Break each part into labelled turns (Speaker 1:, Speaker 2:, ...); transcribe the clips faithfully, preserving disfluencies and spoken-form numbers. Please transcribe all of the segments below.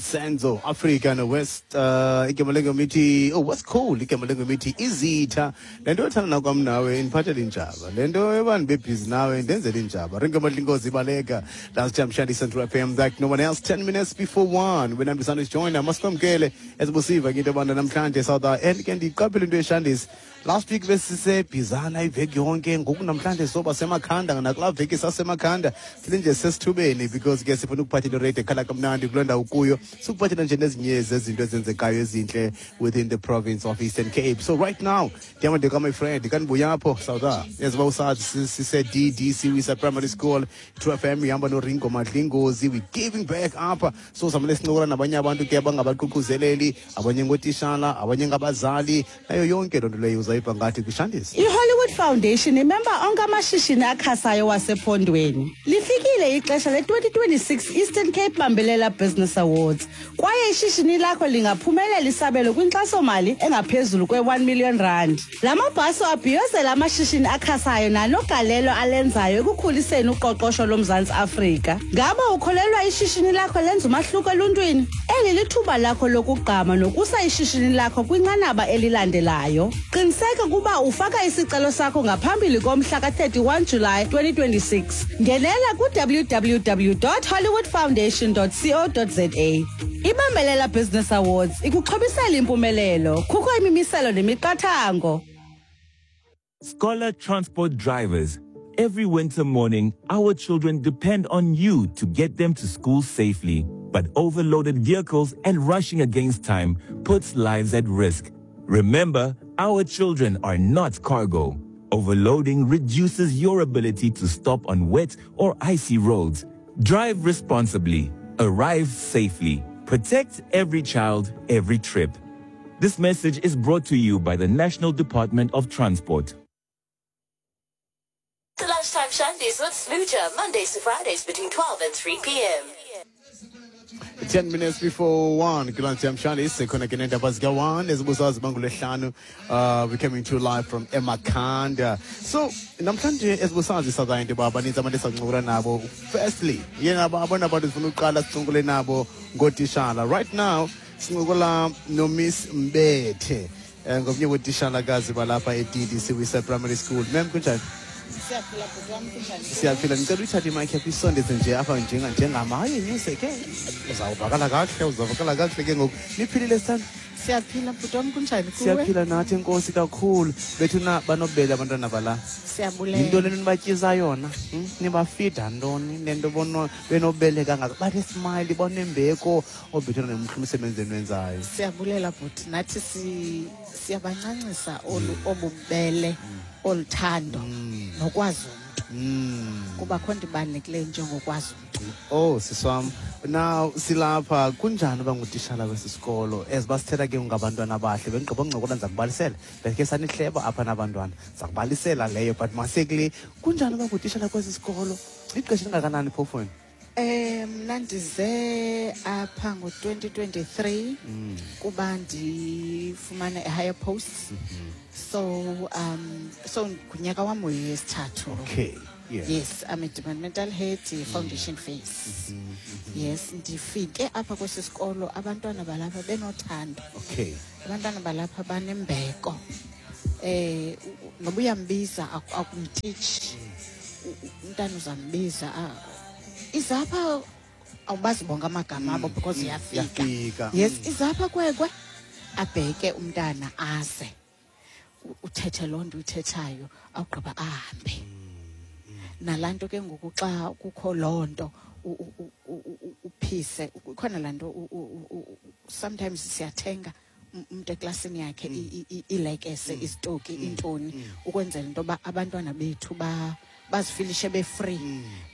Speaker 1: Senzo Africa no West uh igama lengoma ithi, oh, what's cool, igama lengoma ithi Izitha. Lento yothanda nakwam nawe indiphathele injaba, lento yobantu bebhizi nawe indenzele injaba. Ringo Madlingozi baleka. Lunchtime Shandy, Central F M like no one else. ten minutes before one when I'm is join masikwamkele esibusiva ke into yobana namhlanje South and ke ndiqaphele into eshandisi. Last week besisebhizana iveki yonke, ngoku namhlanje soba semakhanda. Nakulaa veki sasemakhanda silinje sesithubeni because ke sifuna ukuphathela iradio ekhala kamnandi kuloo ndawo kuyo, sikuphathela nje nezinye zezinto ezenzekayo ezintle within the province of Eastern Cape. So right now ndiyamandeka my friend kanibuyapho South eziba usazi sise-D D Siwisa Primary School. True F M ihamba noRingo Madlingozi. We giving back apha, so samele sincokola nabanye abantu ke abangabaququzeleli, abanye ngootishala, abanye ngabazali, nayo yonke loo nto leyo uzayiva ngathi kwishandisi.
Speaker 2: I-Hollywood Foundation imemba onke amashishini akhasayo wasephondweni. Lifikile ixesha le-twenty twenty-six Eastern Cape Bambelela Business Awards kwaye ishishini lakho lingaphumelela isabelo kwinkxasomali engaphezulu kwe-one million rand. La mabhaso abhiyozela amashishini akhasayo nanogalelo alenzayo ekukhuliseni uqoqosho loMzantsi Afrika. Ngaba ukholelwa ishishini lakho lenza umahluko eluntwini? Eli lithuba lakho lokugqama nokusa ishishini lakho kwinqanaba elilandelayo. Qiniseka ukuba ufaka isicelo sakho ngaphambili komhla ka-thirty-one July twenty twenty-six. Ngenela ku-W W W dot hollywoodfoundation dot co dot za. Ibambelela Business Awards ikuxhobisela impumelelo. Kukho imimiselo nemiqathango.
Speaker 3: Scholar transport drivers, every winter morning, our children depend on you to get them to school safely. But overloaded vehicles and rushing against time puts lives at risk. Remember, our children are not cargo. Overloading reduces your ability to stop on wet or icy roads. Drive responsibly. Arrive safely. Protect every child, every trip. This message is brought to you by the National Department of Transport.
Speaker 4: The Lunchtime Shandies with Smooja, Mondays to Fridays between twelve and three p m
Speaker 1: ten minutes before one kulantsi mshandi sikhona ke nendaba zika-one ezibuzazi bangolwehlanu. uh we coming to you live from eMakhanda. So namhlanje ezibusazi saza into yoba baninzi abantu esancokola nabo. Firstly, yena abona abantu sifuna uqala sincokole nabo ngootishala. Right now sincokola noMiss Mbethe, um ngomnye wootishalakazi balapha e-D D Siwisa Primary School. Ma'am, kunjani?
Speaker 5: Siyaphila, bhuti wam, kunjani?
Speaker 1: Siyaphila. Ndicela uyithathe imayikhi yakho isondeze nje apha njenga njengama hayi nyuse ke, uzawuvakala kakuhle, uzawuvakala kakuhle ke ngoku. Niphilile, sithanda?
Speaker 5: Siyaphila, bhuti wam, kunjani kuwe?
Speaker 1: Siyaphila nathi, enkosi kakhulu. Bethuna banobele abantwana bala.
Speaker 5: Siyabulela.
Speaker 1: Yintoni le nibatyisa yona, hmm? Nibafida ntoni nento bono benobele kangaka, bathi smile, banembeko obethuna nemhle umsebenzi eniwenzayo?
Speaker 5: Siyabulela, bhuti. Nathi si siyabancancisa olu obubele, oluthando nokwazi umntu.
Speaker 1: Mm.
Speaker 5: Kuba kho nto ibalulekileyo njengokwazi umntu.
Speaker 1: Oh, siswam, now silapha, kunjani uba ngutishala kwesi sikolo? As basithetha ke ngabantwana abahle, bendigqiba uncokola, ndiza kubalisela, bekhe sanihleba apha nabantwana, ndiza kubalisela leyo, but masekule, kunjani uba ngutishala kwesi sikolo? Ixesha elingakanani phofu wena?
Speaker 5: Eh mna ndize apha ngo-twenty twenty-three kuba ndifumane a higher post. So um so ngunyaka wam wesithathu.
Speaker 1: okay yeah.
Speaker 5: Yes, I'm a departmental head, foundation phase. Yes, ndifike apha kwesi sikolo abantwana balapha benothando.
Speaker 1: Okay
Speaker 5: abantwana balapha banembeko. Eh u- noba uyambiza aku- akumtitshi. U- u- Umntana uzambiza, ah, izapha, awubazi bonke amagama abo because iyafika.
Speaker 1: Yafika.
Speaker 5: Yes, izapha kwekwe, abheke umntana aze. U- Uthethe loo nto uyithethayo, awugqiba ahambe. Nalaa nto ke ngoku xa kukho loo nto u- u- u- u- u- uphise ikhona laa nto u- u- u- u- sometimes siyathenga um- umntu eklasini yakhe i- i- i- iilekese, isitoki, intoni, ukwenzela into yoba abantwana bethu ba bazifilishe be-free.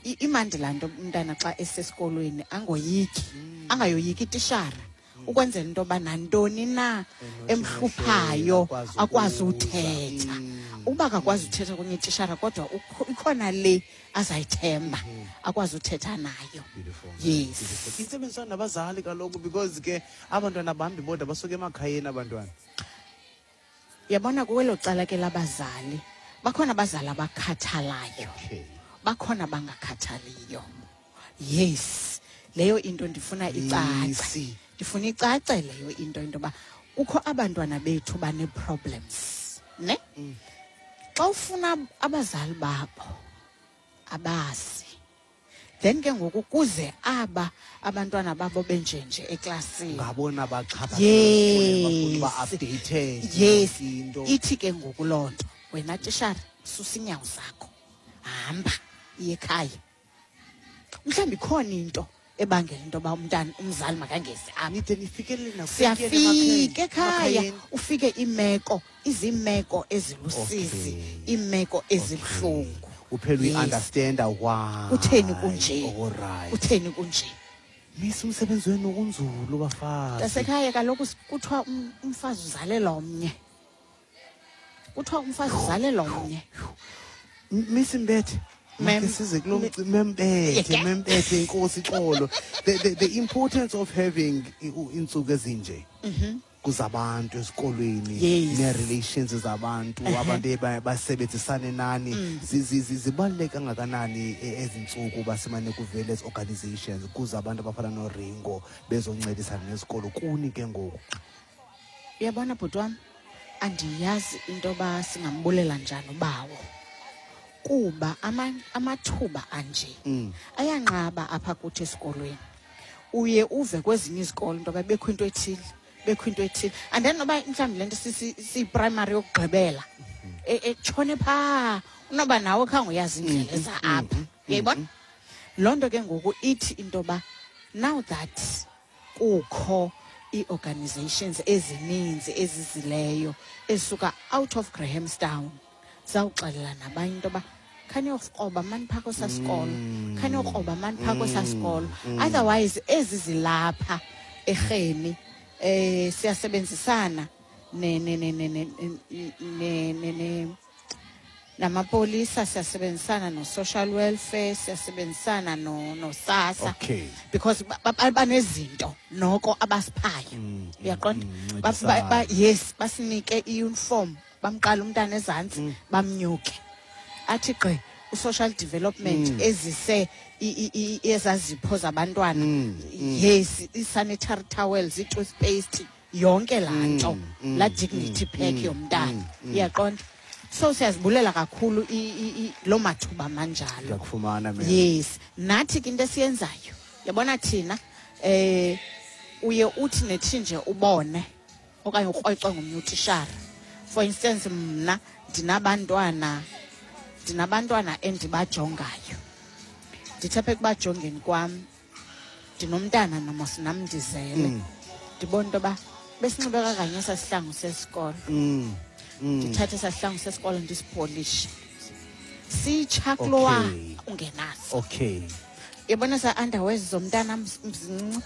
Speaker 5: I- imandi laa nto, umntana xa esesikolweni angoyiki, angayoyiki itishara, ukwenzela into yoba nantoni na emhluphayo
Speaker 1: akwazi
Speaker 5: akwazi
Speaker 1: ukuza.
Speaker 5: uthetha. Uba akakwazi uthetha kunye itishara, kodwa ukho- ikhona le azayithemba akwazi uthetha nayo.
Speaker 1: Beautiful.
Speaker 5: Yes.
Speaker 1: Beautiful. Intsebenziswano nabazali kaloku, because ke abantwana bambi bodwa basuka emakhayeni abantwana.
Speaker 5: Yabona, kwelo cala ke labazali, bakhona abazali abakhathalayo,
Speaker 1: Okay.
Speaker 5: bakhona bangakhathaliyo. Yes, Leyo into ndifuna icace.
Speaker 1: Misi.
Speaker 5: Ndifuna icace leyo into, into yoba kukho abantwana bethu bane-problems, ne? Xa ufuna abazali babo abazi, then ke ngoku kuze aba abantwana babo benjenje eklasini,
Speaker 1: ngabona baxhaphakileyo, bafuna uba
Speaker 5: Yes.
Speaker 1: updated.
Speaker 5: Yes.
Speaker 1: Into
Speaker 5: Ithi ke ngoku loo nto, wena tishara, susa iinyawo zakho, hamba iye ekhaya. Mhlawumbi ikhona into ebangela into yoba umntana, umzali makangezi apha.
Speaker 1: Nide nifikelele nakufikele
Speaker 5: Siyafika ekhaya,
Speaker 1: emakhayeni.
Speaker 5: Ufike iimeko iziimeko ezilusizi,
Speaker 1: Okay.
Speaker 5: iimeko ezibuhlungu.
Speaker 1: Uphela
Speaker 5: Yes.
Speaker 1: uyi-understanda why.
Speaker 5: Kutheni kunje?
Speaker 1: Alright.
Speaker 5: Kutheni kunje?
Speaker 1: Misi, umsebenzi wenu unzulu, bafazi.
Speaker 5: Tasekhaya, kaloku kuthiwa um- umfazi uzalela omnye, kuthiwa umfazi uzalela omnye.
Speaker 1: M- misi Mbethe,
Speaker 5: Ma'am.
Speaker 1: make size kulo mci- membethe.
Speaker 5: Yeah.
Speaker 1: Membethe, inkosi xolo. the, the, the importance of having i- u- iintsuku ezinje kuzabantu esikolweni,
Speaker 5: Yes.
Speaker 1: nee-relations zabantu, abantu eba- basebenzisane nani, zi- zi- zi- zibaluleke kangakanani e- ezi ntsuku basimane kuvele ezi organizations, kuze abantu abafana noRingo bezoncedisana nesikolo kuni ke ngoku?
Speaker 5: Uyabona, bhuti wam, andiyazi into yoba singambulela njani ubawo, kuba ama- amathuba anje ayanqaba apha kuthi esikolweni. Uye uve kwezinye izikolo into yoba bekho into ethile, bekho into ethile, and then noba mhlawumbi le nto siyiprimary yokugqibela e- etshone phaa, unoba nawe khange uyazi indlela eza apha, uyayibona loo nto. Ke ngoku ithi into yoba now that kukho ii-organizations ezininzi ezizileyo ezisuka out of Grahamstown, zawuxelela nabanye into yoba khaniyokroba mani phaa kwesaa sikolo, khaniyokroba mani phaa kwesaa sikolo. Otherwise ezi zilapha erheni, eh siyasebenzisana ne ne ne ne ne ne ne ne namapolisa, siyasebenzisana no-social welfare, siyasebenzisana no noSASSA
Speaker 1: Okay.
Speaker 5: because ba- ba- banezinto noko abasiphayo, uyaqonda? Ba- ba- ba- yes, basinike i-uniform, bamqala umntana ezantsi bamnyuke athi gqi. U-social development ezise i- i- i- ezazipho zabantwana, yes, i-sanitary towels, i-toothpaste, yonke laa nto, laa dignity pack yomntana, uyaqonda? So siyazibulela kakhulu i- i- i- loo mathuba manjalo.
Speaker 1: Ndiyakufumana, ma'am.
Speaker 5: Yes, nathi ke into esiyenzayo, yabona thina, eh uye uthi nethi nje ubone okanye ukrwecwe ngomnye utishara. For instance, mna ndinabantwana ndinabantwana endibajongayo. Ndithe apha ekubajongeni kwam, ndinomntana namos nam ndizele, ndibona into yoba besinxibe kakanye esaa sihlangu sesikolo.
Speaker 1: Mm.
Speaker 5: Ndithathe esaa sihlangu sesikolo, ndisipolishe, sitsha kulowa
Speaker 1: Okay.
Speaker 5: ungenaso.
Speaker 1: Okay
Speaker 5: Yabona sa underwears zomntana mzincinci,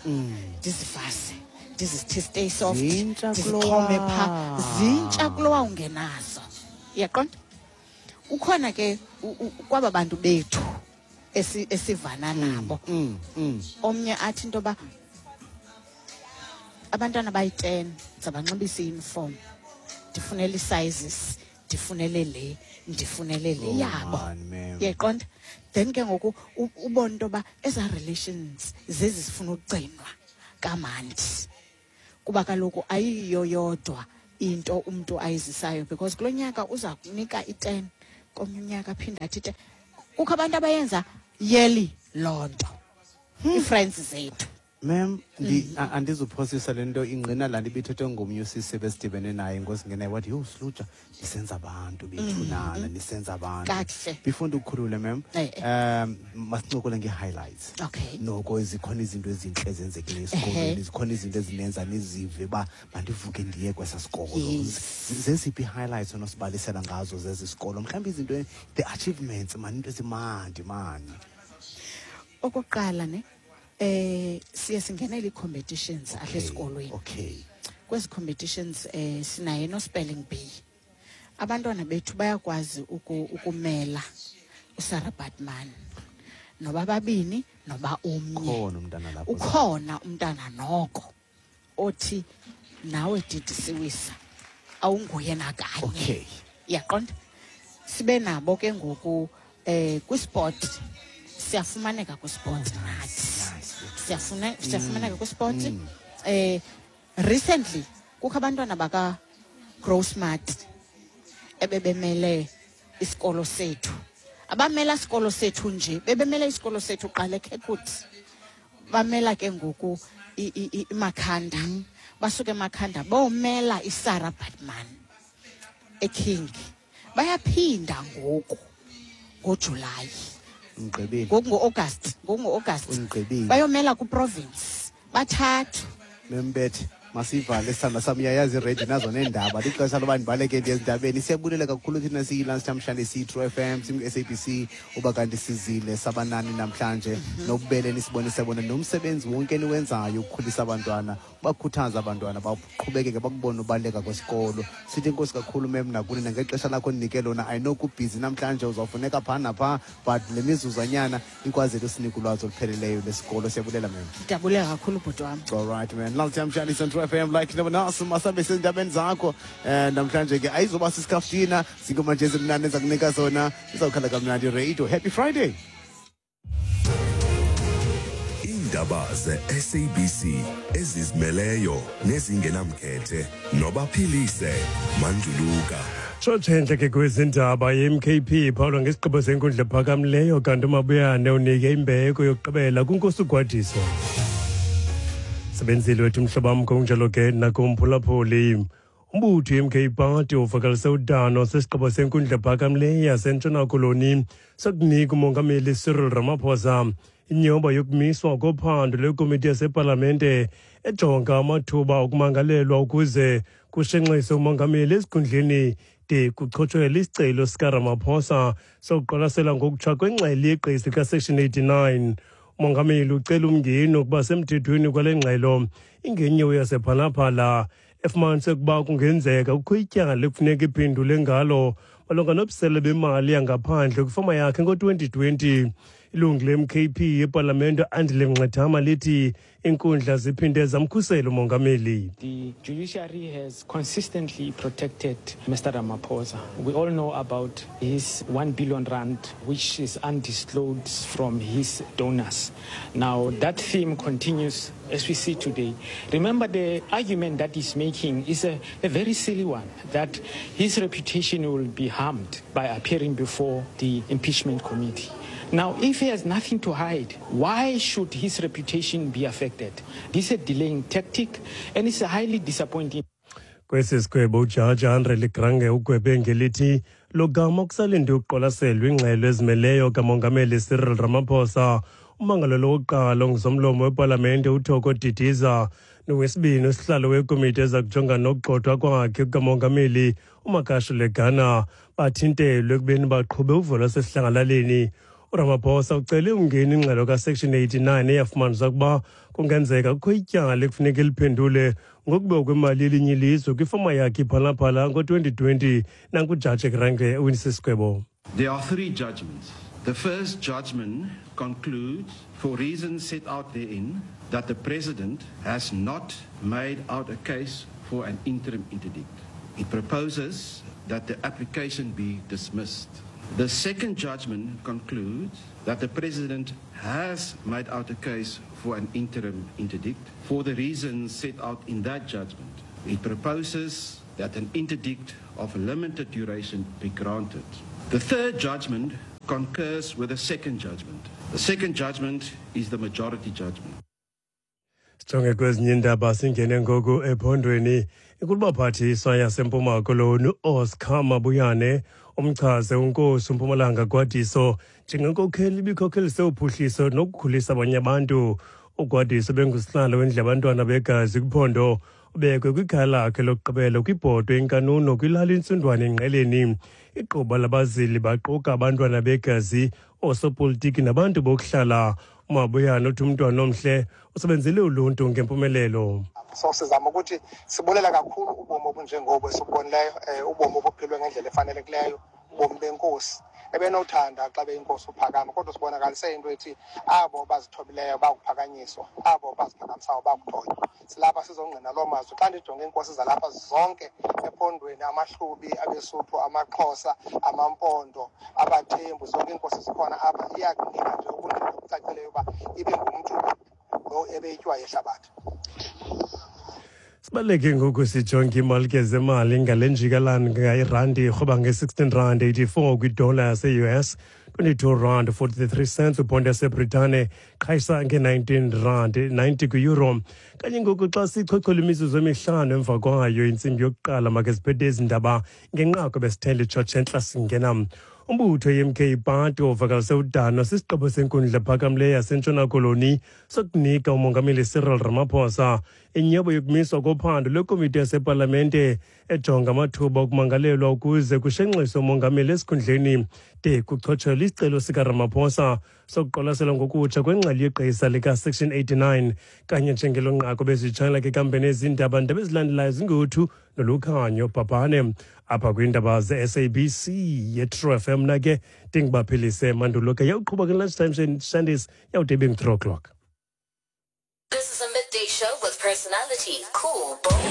Speaker 5: ndizivase, ndizithi stay soft.
Speaker 1: Zintsha.
Speaker 5: Ndizixhome phaa.
Speaker 1: Kulowa.
Speaker 5: Zintsha kulowa ungenazo, uyaqonda? Ukhona ke u- u- kwaba bantu bethu esi- esivana nabo,
Speaker 1: mm, mm.
Speaker 5: omnye athi into yoba abantwana bayi-ten zabanxibisa i-uniform, ndifunele ii-sizes, ndifunele le, ndifunele le
Speaker 1: Oh,
Speaker 5: yabo.
Speaker 1: man, ma'am.
Speaker 5: Uyayiqonda? Then ke ngoku u- ubone into yoba ezaa relations zezi zifuna ukugcinwa kamandi, kuba kaloku ayiyo yodwa into umntu ayizisayo, because kulo nyaka uza kunika i-ten, komnye unyaka aphinde athi i-ten. Kukho abantu abayenza yearly loo nto, ii-friends zethu.
Speaker 1: Ma'am, ndi a- andizuphosisa, le nto ingqina laa nto ibithethwe ngomnye usisi ebesidibene naye ngosingenayo, wathi, "Yho, Sluja, nisenza abantu bethu nana, nisenza abantu."
Speaker 5: Kakuhle.
Speaker 1: Before ndikukhulule, ma'am,
Speaker 5: Eh,
Speaker 1: um masincokole ngee-highlights.
Speaker 5: Okay.
Speaker 1: Noko zikhona izinto ezintle ezenzekileyo esikolweni,
Speaker 5: Ehhe.
Speaker 1: zikhona izinto ezinenza nizive uba mandivuke ndiye kwesaa sikolo.
Speaker 5: Yes.
Speaker 1: Z- zeziphi ii-highlights onosibalisela ngazo zezi sikolo, mhlawumbi izinto, the achievements mani, into ezimandi mani?
Speaker 5: Okokuqala ne, eh siye singenele ii-competitions apha esikolweni.
Speaker 1: Okay
Speaker 5: kwezi competitions eh sinaye no-spelling bee. Abantwana bethu bayakwazi uku, ukumela uSarah Batman, noba babini noba omnye.
Speaker 1: Ukhona umntana lapho?
Speaker 5: Ukhona umntana noko othi nawe didi siwisa awunguye nakanye.
Speaker 1: Okay.
Speaker 5: Uyaqonda? Sibe nabo ke ngoku eh kwisport, siyafumaneka kwisport nathi.
Speaker 1: Nice.
Speaker 5: Siyafuna siyafumaneka kwisport. Eh recently kukho abantwana baka Grow Smart ebebemele isikolo sethu. Abamela isikolo sethu nje, bebemela isikolo sethu qala eKirkwood. Bamela ke ngoku i- i- i- iMakhanda. Basuke eMakhanda bomela iSarah Baartman eKing. Bayaphinda ngoku ngoJuly.
Speaker 1: Ngigqibile.
Speaker 5: Ngoku ngo-August, ngoku ngo-August.
Speaker 1: Ungigqibile.
Speaker 5: Bayomela kuprovince. Bathathu.
Speaker 1: Membethe, masivale sithanda sam, uyayazi iready nazo neendaba, lixesha loba ndibaleke ndiye ezindabeni. Siyabulela kakhulu thina siyi-Lunch namhlanje, siyi-True F M, siyi-S A B C, uba kanti sizile sabanani namhlanje nobubele nisibonise bona nomsebenzi wonke eniwenzayo ukukhulisa abantwana, bakhuthaza abantwana baqhubekeke bakubone ubaluleka kwesikolo. Sithi inkosi kakhulu mem nakuni nangexesha lakho ndinike lona. I know kubhizi namhlanje, uzawufuneka phaa naphaa, but le mizuzwanyana ikwazele usinika ulwazi olupheleleyo lesikolo. Siyabulela mem.
Speaker 5: Ndiyabulela kakhulu, bhuti wam.
Speaker 1: All right, man. Lunch namhlanje on True F M like no one else. Masambe sezindabeni zakho. Eh namhlanje ke ayizoba sisikaftina, zingoma nje ezimnandi ezakunika zona. Izawukhala kamnandi radio. Happy Friday.
Speaker 6: Iindaba ze-S A B C ezizimeleyo nezingenamkhethe nobaphilise Manduluka.
Speaker 7: Tshotshentle ke kwezindaba, ye-M K P iphawulwa ngesigqibo senkundla ephakamileyo, kanti uMabuyane unike imbeko yokugqibela kwinkosi uGwadiso. Sebenzile wethu mhlobo wam, kunjalo ke nakumphulaphuli. Umbutho i-M K Party uvakalise udano sesigqibo senkundla ephakamileyo yaseNtshona Koloni sokunika umongameli Cyril Ramaphosa inyoba yokumiswa kophando lwekomiti yasepalamente ejonga amathuba okumangalelwa ukuze kushenxise umongameli esikhundleni de kuchotshwele isicelo sikaRamaphosa sokuqwalasela ngokutsha kwengxelo yegqesi kaSection eighty-nine. Umongameli ucela umngeni ukuba semthethweni kwale ngxelo ingenyewo yasePhalaphala efumanise ukuba kungenzeka kukho ityala ekufuneka iphendule ngalo malunga nobusele bemali yangaphandle kwifama yakhe ngo-twenty twenty. Ilungu le-M K P yepalamente Andile Mngxitama lithi iinkundla ziphinde zamkhusela umongameli.
Speaker 8: The judiciary has consistently protected Mister Ramaphosa. We all know about his one billion rand, which is undisclosed from his donors. Now, that theme continues as we see today. Remember, the argument that he's making is a, a very silly one, that his reputation will be harmed by appearing before the impeachment committee. Now, if he has nothing to hide, why should his reputation be affected? This is a delaying tactic, and it's highly disappointing.
Speaker 7: Kwesi sigwebo ujaji Andre Legrange ugwebe ngelithi logama kusalinde ukuqwalaselwa ingxelo ezimeleyo kamongameli Cyril Ramaphosa, umangalelo wokuqala ongusomlomo wepalamente uThoko Didiza nowesibini usihlalo wekomiti eza kujongana nokugxothwa kwakhe kukamongameli uMagashule Gana bathintelwe ekubeni baqhube uvo lwasesidlangalaleni. URamaphosa ucele umngeni ingxelo kaSection eighty-nine eyafumanisa ukuba kungenzeka kukho ityala ekufuneka liphendule ngokubiwa kwemali yelinye ilizwe kwifama yakhe iPhalaphala ngo-twenty twenty. Nankujaji Grange owinise isigwebo.
Speaker 9: There are three judgments. The first judgment concludes, for reasons set out therein, that the President has not made out a case for an interim interdict. It proposes that the application be dismissed. The second judgment concludes that the President has made out a case for an interim interdict for the reasons set out in that judgment. It proposes that an interdict of limited duration be granted. The third judgment concurs with the second judgment. The second judgment is the majority judgment.
Speaker 7: Sijonge kwezinye iindaba, singene ngoku ephondweni. Inkulubaphathiswa yaseMpuma Koloni uOscar Mabuyane umchaze unkosi uMpumalanga Gwadiso njengenkokheli ibikhokhelise uphuhliso nokukhulisa abanye abantu. UGwadiso bengusihlalo wendlu yabantwana begazi kwiphondo. Ubekwe kwikhaya lakhe lokugqibela kwibhotwe iNkanuno kwilali Intsundwane eNgqeleni. Igquba labazili baquka abantwana begazi, oosopolitiki nabantu bokuhlala. UMabuyane uthi umntwana omhle usebenzele uluntu ngempumelelo.
Speaker 10: So sizama ukuthi sibulela kakhulu ubomi obunjengobo esibubonileyo, um ubomi obuphilwe ngendlela efanelekileyo, ubomi benkosi ebenothanda xa beyinkosi uphakama, kodwa sibonakalise into ethi abo bazithobileyo bakuphakanyiswa, abo baziphakamisayo bakuthotywa. Silapha sizongqina loo mazwi. Xa ndijonge iinkosi zalapha zonke ephondweni, amaHlubi, abeSuthu, amaXhosa, amaMpondo, abaThembu, zonke iinkosi zikhona apha, iyakunika nje ubungqina obucacileyo uba ibe ngumntu lo. ebeyitywa yehlabathi.
Speaker 7: Sibaleke ngoku sijonge imali ke zemali ngale njikalanga. Irandi irhoba nge-sixteen rand eighty-four kwidola yase-U S, twenty-two rand forty-three cents ubhondi yaseBritane, qhayisa nge-nineteen rand ninety kwi-euro. Kanye ngoku xa sichochola imizuzu emihlanu emva kwayo intsimbi yokuqala, make siphethe ezi ndaba ngenqaku besithele itshotshe entla singena. Umbutho i-M K Party uvakalise udano sisigqibo senkundla ephakamileyo yaseNtshona Koloni sokunika umongameli Cyril Ramaphosa inyobo yokumiswa kophando lwekomiti yasepalamente ejonga amathuba okumangalelwa ukuze kushenxiswe umongameli esikhundleni de kuchotshelwe isicelo sikaRamaphosa sokuqwalasela ngokutsha kwengxelo yegqisa lika-Section eighty-nine. Kanye njengelo nqaku bezitshayela ke kambe nezindaba ndaba ezilandelayo zinguthu nolukhanyo bhabhane apha kwiindaba ze-S A B C ye-True F M. Na ke ndingubaphilise mandulo ke yawuqhuba ke lunchtime Shandis yawude ibe ngu-three o'clock.
Speaker 4: This is a midday show with personality, cool, bold.